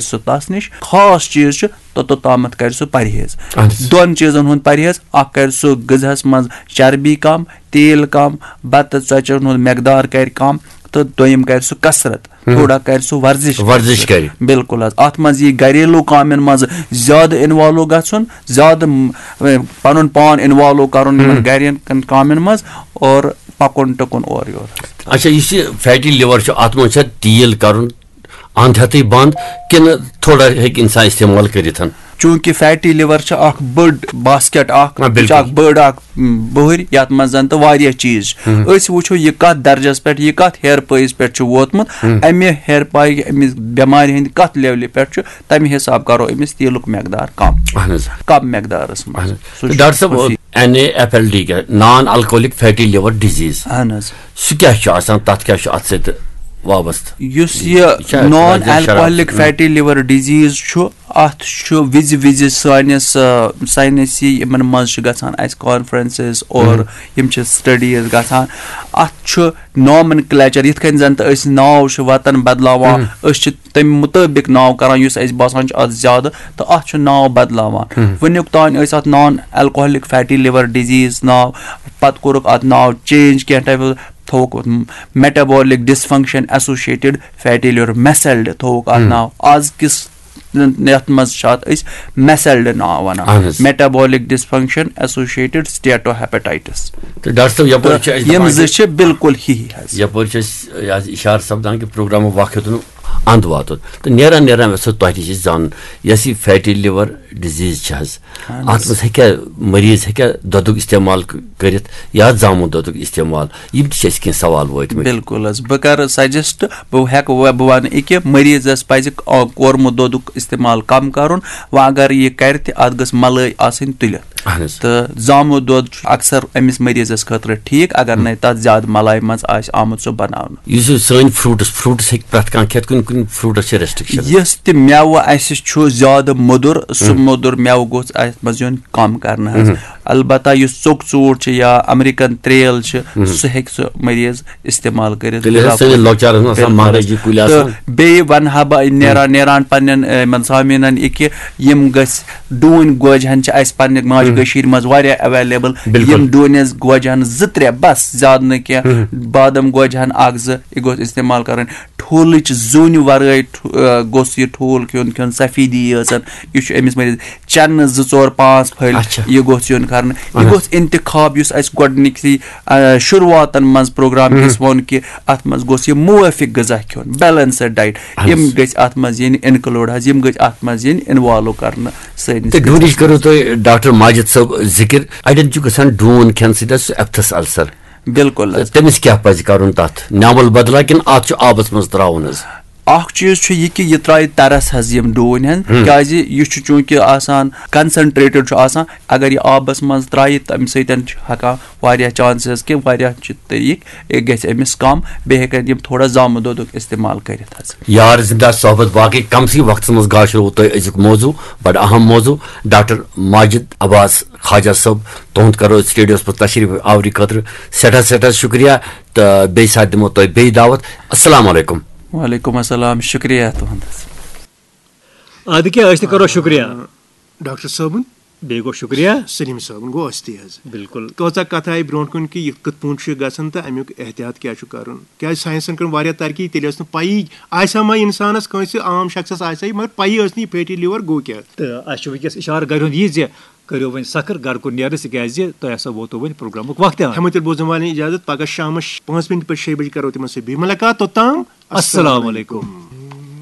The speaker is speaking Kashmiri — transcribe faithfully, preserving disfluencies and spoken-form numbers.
سُہ تَس نِش۔ خاص چیٖز چھُ توٚتَتھ تامَتھ کَرِ سُہ پرہیز۔ اہن حظ۔ دۄن چیٖزَن ہُنٛد پرہیز۔ اَکھ کَرِ سُہ غذہَس منٛز چربی کَم، تیل کَم، بَتہٕ ژۄچَن ہُنٛد مقدار کَرِ کَم، تہٕ دوٚیِم کَرِ سُہ کثرت، تھوڑا کَرِ سُہ ورزش۔ ورزش کَرِ۔ بِلکُل حظ۔ اَتھ منٛز یی گَریلوٗ کامٮ۪ن منٛز زیادٕ اِنوالو گژھُن، زیادٕ م، پَنُن پان اِنوالو کَرُن یِمَن گَرٮ۪ن کَن کامٮ۪ن منٛز، اور پَکُن ٹُکُن اورٕ یورٕ۔ اچھا، یُس یہِ فیٹی لِور چھُ، اَتھ منٛز چھا تیٖل کَرُن اَنٛد ہٮ۪تھٕے بنٛد، کِنہٕ تھوڑا ہیٚکہِ اِنسان استعمال کٔرِتھ؟ چوٗنٛکہِ فیٹی لِور چھِ اَکھ بٔڑ باسکیٹ اَکھ، آ، یہِ چھِ بِلکُل۔ اَکھ بٔڑ اَکھ م، بُہٕرۍ، یَتھ منٛز زَن تہٕ واریاہ چیٖز چھِ۔ أسۍ وٕچھو یہِ کَتھ درجَس پٮ۪ٹھ، یہِ کَتھ ہیر پٲیِس پٮ۪ٹھ چھُ ووتمُت، اَمہِ ہیر پایہِ، أمِس بٮ۪مارِ ہٕنٛدِ کَتھ لیولہِ پٮ۪ٹھ چھُ، تَمہِ حِساب کَرو أمِس تیٖلُک مقدار کَم۔ اہن حظ۔ کَم مقدارَس منٛز۔ اہن حظ۔ سُہ تہٕ چھُ ڈاکٹر صٲب، خصوٗصی۔ N A F L D کیٛاہ، non alcoholic fatty liver disease, اہن حظ۔ سُہ کیٛاہ چھُ آسان؟ تَتھ کیٛاہ چھُ اَتھ سۭتۍ وابستہٕ؟ یُس یہِ چھا نان درجہ شراب؟ الکوہلک فیٹی لِور ڈِزیٖز چھُ، اَتھ چھُ وِزِ وِزِ سٲنِس، آ، ساینسی یِمَن منٛز چھِ گژھان اَسہِ کانفرنسز اور یِم چھِ سٹڈیٖز گژھان۔ اَتھ چھُ نامن کلیچر، یِتھ کٔنۍ زَن تہٕ أسۍ ناو چھِ وَتَن بدلاوان، أسۍ چھِ تَمہِ مُطٲبِق ناو کران یُس اَسہِ باسان چھُ اَتھ زیادٕ، تہٕ اَتھ چھُ ناو بدلاوان۔ وٕنیُک تام ٲسۍ اَتھ نان الکوہلک فیٹی لِور ڈِزیٖز ناو، پَتہٕ کوٚرُکھ اَتھ ناو چینج کینٛہہ ٹایپہٕ، تھووُکھ metabolic dysfunction associated fatty liver، میسلڈ تھووُکھ اَتھ ناو۔ آز کِس یَتھ منٛز چھِ اَتھ أسۍ میسلڈ ناو وَنان، اہن حظ۔ metabolic dysfunction associated steatohepatitis۔ تہٕ ڈاکٹر صٲب، یَپٲرۍ چھِ اَسہِ یِم دَپان زٕ کہِ چھِ بِلکُل ہی ہی حظ۔ یَپٲرۍ چھِ أسۍ یہِ حظ اِشارٕ سَپدان کہِ پروگرامُک وقت ہیوٚتُن اَنٛد واتُن۔ تہٕ نیران نیران یَژھو تۄہہِ نِش أسۍ زانُن، یۄس یہِ فیٹی لِور ڈِزیٖز چھِ حظ، اَتھ منٛز ہیٚکیٛاہ مٔریٖض ہیٚکیٛاہ دۄدُک استعمال ک-، کٔرِتھ یا زامُت دۄدُک استعمال؟ یِم تہِ چھِ اَسہِ کینٛہہ سوال وٲتمٕتۍ۔ بِلکُل حظ، بہٕ کَرٕ سجسٹ، بہٕ ہٮ۪کہٕ، بہٕ وَنہٕ یہِ کہِ مٔریٖضَس پَزِ، آ، کورمُت دۄدُک استعمال کَم کَرُن۔ وۄنۍ اگر یہِ کَرِ تہِ، اَتھ گٔژھ مَلٲے آسٕنۍ تُلِتھ۔ اہن حظ۔ تہٕ زامُت دۄد چھُ اکثر أمِس مٔریٖضَس خٲطرٕ ٹھیٖک، اگر نَے تَتھ زیادٕ مَلایہِ منٛز آسہِ آمُت سُہ بَناونہٕ۔ یُس یہِ سٲنۍ فروٗٹٕس، فروٗٹٕس ہیٚکہِ پرٛٮ۪تھ کانٛہہ کھٮ۪تھ، کُنہِ کُنہِ فروٗٹَس چھِ ریسٹرکشن؟ یُس تہِ مٮ۪وٕ اَسہِ چھُ زیادٕ موٚدُر، سُہ موٚدُر مٮ۪وٕ گوٚژھ اَتھ منٛز یُن کَم کرنہٕ حظ۔ البتہ یُس ژوٚک ژوٗنٛٹھ چھُ یا امریکن تریل چھِ، سُہ ہیٚکہِ سُہ مٔریٖض استعمال کٔرِتھ۔ تیٚلہِ حظ سٲنِس لۄکچارَس منٛز آسان بِلکُل۔ مہرٲجی کُلۍ آسان۔ تہٕ بیٚیہِ وَنہٕ ہا بہٕ نیران نیران پننٮ۪ن، اَ، یِمن سامعیٖنن یہِ کہِ یِم گٔژھۍ ڈوٗنۍ گوجہِ ہن چھِ اَسہِ پننہِ ماجہِ کٔشیٖرِ منٛز واریاہ ایویلیبل۔ بِلکُل۔ یِم ڈوٗنِس گوجہِ ہن زٕ ترٛےٚ بس، زیادٕ نہٕ کینٛہہ، بادام گوجہِ ہن اکھ زٕ، یہِ گوٚژھ استعمال کرٕنۍ۔ ٹھوٗلٕچ زوٗنہِ ورٲے ٹھو-، آ، گوٚژھ یہِ ٹھوٗل کھیوٚن، کھیوٚن سفیدی یٲژَن۔ یہِ چھُ أمِس مٔریٖض۔ چَنہٕ زٕ ژور پانٛژھ پھٔلۍ، اچھا۔ یہِ گوٚژھ یُن کرنہٕ۔ یہِ گوٚژھ انتخاب، یُس اَسہِ گۄڈٕنِکسٕے، آ، شروٗعاتَن منٛز پروگرام کِس ووٚن کہِ اَتھ منٛز گوٚژھ یہِ موٲفِق غذا کھیوٚن، بیلنسڈ ڈایٹ۔ یِم گٔژھۍ اَتھ منٛز یِنۍ انکلوڈ حظ، یِم گٔژھۍ اَتھ منٛز یِنۍ انوالو کرنہٕ سٲنِس تہٕ ڈوٗنِچ کٔرِو تُہۍ ڈاکٹر ماجد صٲب ذِکِر۔ اَڑٮ۪ن چھُ گژھان ڈوٗن کھٮ۪نہٕ سۭتۍ حظ سُہ اپتھس السر۔ بِلکُل حظ۔ تٔمِس کیٛاہ پَزِ کَرُن تَتھ؟ نٮ۪مَل بدلا کِنہٕ اَتھ چھُ آبَس منٛز ترٛاوُن حظ؟ اکھ چیٖز چھُ یہِ کہِ یہِ ترٛایہِ تَرَس حظ یِم ڈوٗنۍ ہن، کیازِ یہِ چھُ چوٗنٛکہِ آسان، کنسنٹریٹڈ چھُ آسان۔ اگر یہِ آبَس منٛز ترٛایہِ، تَمہِ سۭتۍ چھُ ہٮ۪کان واریاہ چانسز کہِ واریاہ چھِ طریٖقہٕ، یہِ گژھِ أمِس کم، بیٚیہِ ہٮ۪کن یِم تھوڑا زامہٕ دۄدُک استعمال کٔرِتھ حظ۔ یار زِندا صحبت باقٕے کمسٕے وقتس منٛز گاشروو تۄہہِ أزیُک موضوع، بڑٕ اہم موضوع۔ ڈاکٹر ماجد عباس خواجہ صٲب، تُہُنٛد کرو أسۍ ریڈیوس پٮ۪ٹھ تشریف آوری خٲطرٕ سٮ۪ٹھاہ سٮ۪ٹھاہ شُکریہ، تہٕ بیٚیہِ ساتہٕ دِمو تۄہہِ بیٚیہِ دعوت۔ السلام علیکم۔ وعلیکم السلام، شُکریہ تُہُنٛد حظ۔ ادٕ کیٛاہ، أسۍ تہِ کرو شُکریہ۔ ڈاکٹر صٲبُن، بیٚیہِ گوٚو شُکریہ۔ سلیٖم صٲبُن گوٚو أسۍ تہِ حظ۔ بِلکُل۔ کۭژاہ کَتھٕ آیہِ برونٛٹھ کُن کہِ یہِ کِتھ پٲٹھۍ چھُ گژھان تہٕ اَمیُک احتیاط کیٛاہ چھُ کَرُن، کیٛازِ ساینسَن کٔر واریاہ ترقی، تیٚلہِ ٲس نہٕ پَیی، آسہِ ہا ما اِنسانَس کٲنٛسہِ عام شخصَس آسہِ ہا یہِ، مگر پَیی ٲس نہٕ یہِ فیٹی لِور گوٚو کیٛاہ۔ تہٕ اَسہِ چھُ وٕنکیٚس اِشارٕ گَرِ ہُنٛد یہِ زِ کٔرِو وۄنۍ سخٕر گَرٕ کُن نیرنَس، تِکیٛازِ تۄہہِ ہسا ووتوُ وۄنۍ پروگرامُک وقت تہِ۔ ہٮ۪مو تیٚلہِ بوزَن والٮ۪ن اِجازت، پَگاہ شامَس پانٛژھ مِنٹ پَتہٕ شیٚیہِ بَجہِ کَرو تِمَن سۭتۍ بیٚیہِ مُلاقات، توٚتام السلام علیکم۔